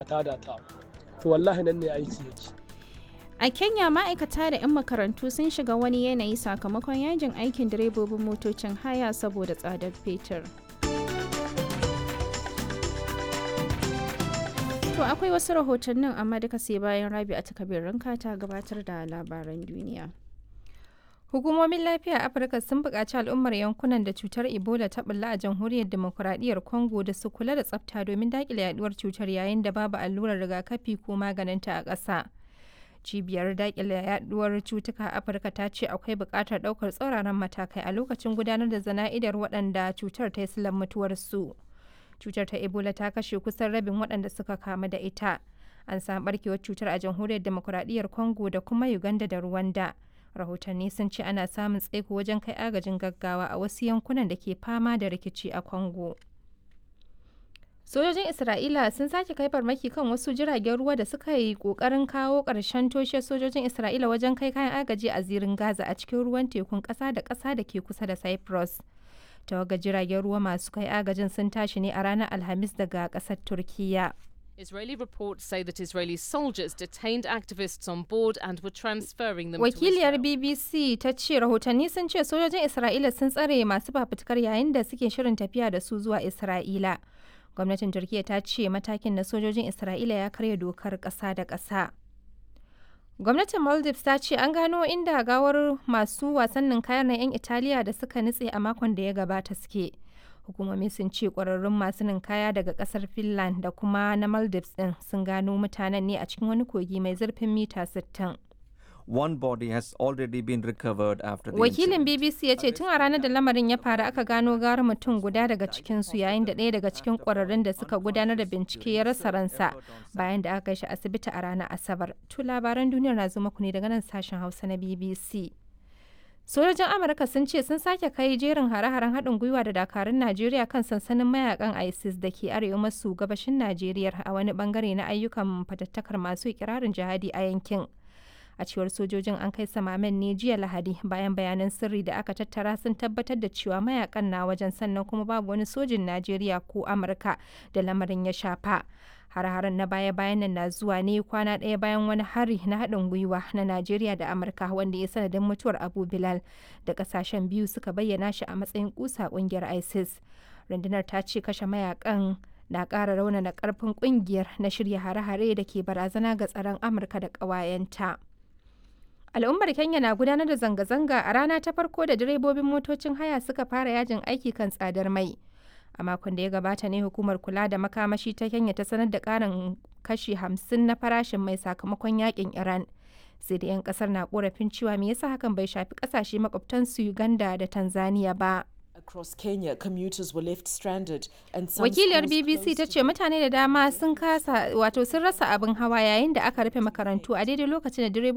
Tada ta, to wallahi nan ne aiki yake. A Kenya, ma'aikata da 'yan makarantu sun shiga wani yanayi sakamakon yajin aikin direbobin motocin haya saboda tsadar fetur. To akwai wasu rahotannin, amma duka sai bayan Rabi a takabirin ta gabatar da labaran duniya. Hukumomin lafiya a Afirka sun buƙaci al'ummar yankunan da cutar Ebola ta bulla a Jamhuriyar Dimokuraɗiyyar Congo da su kula da tsafta domin daƙile yaduwar cutar yayin da babu allurar rigakafi ko maganinta a ƙasa. Cibiyar daƙile yaduwar cutuka a Afirka ta ce akwai buƙatar ɗaukar tsauraran matakai a lokacin gudanar da zana'idar waɗanda cutar ta yi silar mutuwarsu. Cutar ta Ebola ta kashe kusan rabin waɗanda suka kamu da ita. An samu ɓarkewar cutar a Jamhuriyar Dimokuraɗiyyar Congo da kuma Uganda da Rwanda. Rahotanni sun ce ana samun tsaiko wajen kai agajin gaggawa a wasu yankunan da ke fama da rikici a Congo. Sojojin Isra'ila sun sake kai farmaki kan wasu jiragen ruwa da suka yi kokarin kawo ƙarshen toshe sojojin Isra'ila wajen kai kayan agaji a zirin Gaza a cikin ruwan tekun ƙasa da ƙasa da ke kusa da Cyprus. Tawagar jiragen ruwa masu kai agajin sun tashi ne a ranar Alhamis daga ƙasar Turkiyya. Israeli reports say that Israeli soldiers detained activists on board and were transferring them Wakiliyar to Israel. BBC ta ce rahotanni sun ce sojojin Isra'ila sun tsare masu fafutukar yayin da suke shirin tafiya da su zuwa Isra'ila. Gwamnatin Turkiyya ta ce matakin na sojojin Isra'ila ya karya dokar ƙasa da ƙasa. Gwamnatin Maldives ta ce an gano inda gawar masu wasannin kayan na 'yan Italiya da suka nutse a makon da ya gabata suke. Hukumomi sun ce kwararrun masu ninkaya daga kasar Finland da kuma na Maldives din sun gano mutanen ne a cikin wani kogi mai zurfin mita 60. One body has already been recovered after the Wakilin incident. BBC ya ce tun a ranar da lamarin ya faru aka gano gara mutum guda daga cikinsu, yayin da ɗaya daga cikin kwararrun da suka gudanar da bincike ya rasa ransa bayan da aka kai shi asibiti a ranar Asabar. To labaran duniyar na zo muku ne daga nan sashen Hausa na BBC. Sojojin Amurka sun ce sun sake kai jerin hare-haren haɗin gwiwa da dakarun Najeriya kan sansanin mayakan ISIS da ke arewa maso gabashin Najeriya a wani bangare na ayyukan fatattakar masu ikirarin jihadi a yankin. A cewar sojojin, an kai samamen ne jiya Lahadi bayan bayanan sirri da aka tattara sun tabbatar da cewa mayakan na wajen, sannan kuma babu wani sojin Najeriya ko Amurka da lamarin ya shafa. Har-haren na baya-bayan nan na zuwa ne kwana ɗaya bayan wani hari na haɗin gwiwa na Najeriya da Amurka wanda ya sanadin mutuwar Abu Bilal, da ƙasashen biyu suka bayyana shi a matsayin kusa ƙungiyar ISIS. Rundunar ta ce kashe mayakan na ƙara raunana ƙarfin ƙungiyar na shirya hare-hare da ke barazana ga tsaron Amurka da ƙawayenta. Al'ummar Kenya na gudanar da zanga-zanga a rana ta farko da direbobin motocin haya suka fara yajin aiki kan tsadar mai. A makon da ya gabata ne hukumar kula da makamashi ta Kenya ta sanar da karin kashi 50 na farashin mai sakamakon yakin Iran. Sai da 'yan kasar na korafin cewa me yasa hakan bai shafi kasashe makwabtansu Uganda da Tanzania ba. Across Kenya, commuters were left stranded and some Wakiliyar schools BBC ta closed ce mutane da dama sun kasa, wato sun rasa abin hawa yayin da aka rufe makarantu a daidai lokacin da direbobi